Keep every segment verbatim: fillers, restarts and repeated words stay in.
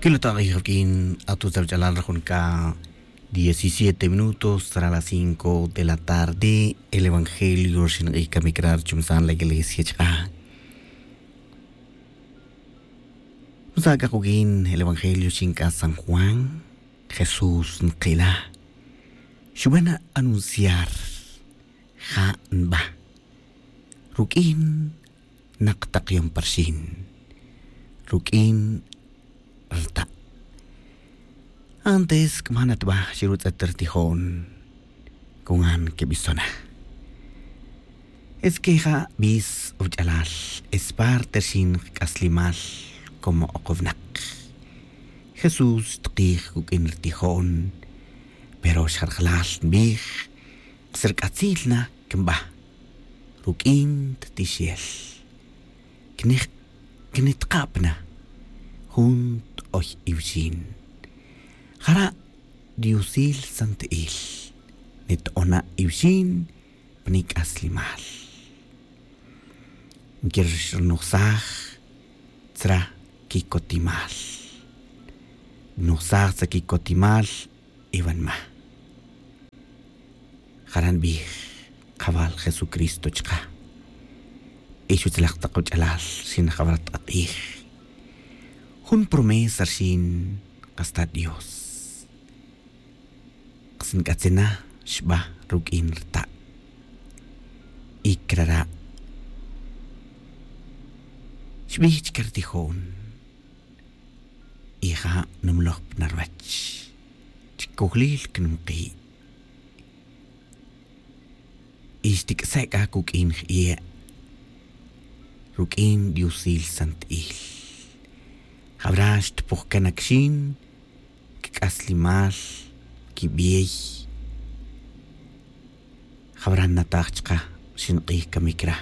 Ila ta q'ij awk'in, atutz awach'alal, rajun c'a diecisiete minutos tzara las cinco de la tarde. El evangelio rxin q'ij camic ra rchumsan la iglesia chk'a. Nsa c'a kuq'uin el evangelio rxin c'a san Juan. Jesús nkila, xuban anunciar, ja' nba ruq'uin nak tak yom pa rxin, ruq'uin rta'. Antes c'a man atba xirutz'et rtijo'n, con an quebisona. Es que ja' bis awach'alal, es parte rxin kac'aslimal como ok winak. Jesús xtkij cuq'uin rtijo'n, pero xa rajlal nbij, kas rc'atzil na cnba ruq'uin ttixel. Cnij-, cnitkab na jun t'oy iwxin. Jara' diosil santi'il nito'ona iwxin pa nic'aslimal. Nquirnojsaj tzra quicotimal. Nojsaj tzra quicotimal, iwanma. Jara' nbij kajawal Jesucristo chka. Y xutzalaj tak wach'alal rxin jawara tak q'ij, jun promesa rxin kas ta Dios. Kas nc'atzin na xba ruq'uin rta'. Y crara' xbij chca rtijo'n, y ja' numloj pa na ruwech, chi cojlil cnumki'. Y xtic'ase' c'a cuq'uin jie' ruq'uin diosil santi'il. Jawara' xtpoj can acaxin cac'aslimal, quibey. Jawara' nnataj chka rxin q'ij camic ra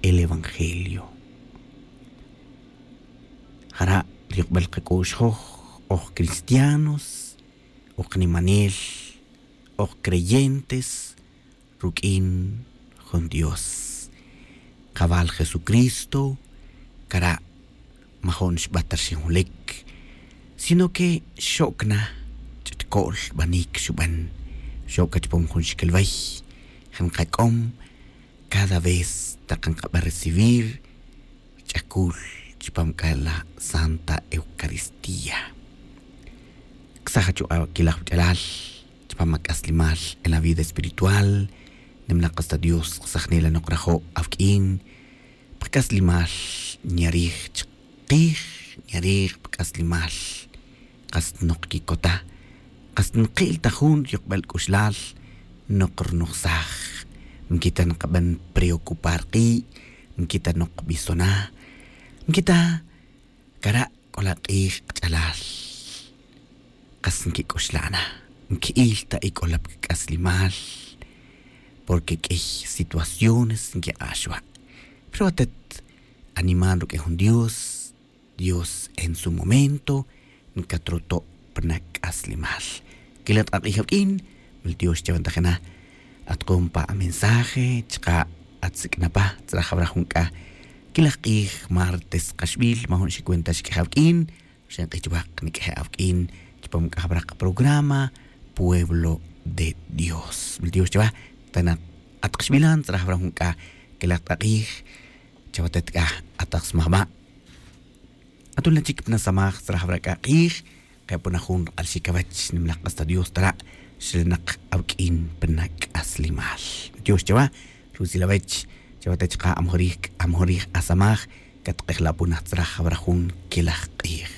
el evangelio. Jara' ri yukbel kac'u'x joj, oj cristianos, oj nimanel, oj creyentes ruq'uin jun Dios. Kajawal Jesucristo, cara' majo'n xba ta rxin julic, sino que xoc na ch'utco'l banic xuban. Xoc c'a chupam jun xiquilwey, ja nkac'om cada vez tak nkaba recibir ch'acul chupam c'a la Santa Eucaristía. Ksaj achu' aquilaj wach'alal chupam ac'aslimal en la vida espiritual. Nimla' kas ta Dios, ksaj nela' nok rajo' awuq'uin pa kac'aslimal, nyarij chkij, nyarij pa kac'aslimal. Kas nok quicota, kas nki'l ta jun yukbel c'uxlal, nok rnojsaj. Nquita nkaben preocupar ki', nquita nok bisona, nquita cara' c'o la k'ij kach'alal. Kas nquic'uxla' na, nqui'il ta ic'olap c'aslimal, porque q'uiy situaciones nquik'ax wa'. Pero atet animal ruq'uin jun Dios, Dios en su momento ncatroto' pa na c'aslimal. Quilaj tak k'ij awuq'uin, mil tiox chawe ntajina. Atkom pa amensaje chka' atsic'na pa tzra jawra jun c'a quilaj k'ij martes kaxbil, majun xicuenta xiq'uija' awuq'uin. Xenk'ij chuwa' kniq'uije' awuq'uin chupam c'a jawra kaprograma Pueblo de Dios. Mil tiox chawa. Tana' at kaxbilan tzra jawra jun c'a quilaj tak k'ij. Chawatet c'a atak smajba', atula' chic pna samaj tzra jawra c'a k'ij. Kepona jun rk'alxic awech, nimlaj k'as ta Dios tara', xlanak awuq'uin pna c'aslimal. Tiox chawa, rutzil awech. Chawate chka' amajorij, amajorij asamaj. Catk'ejlapona tzra jawra jun quilaj k'ij.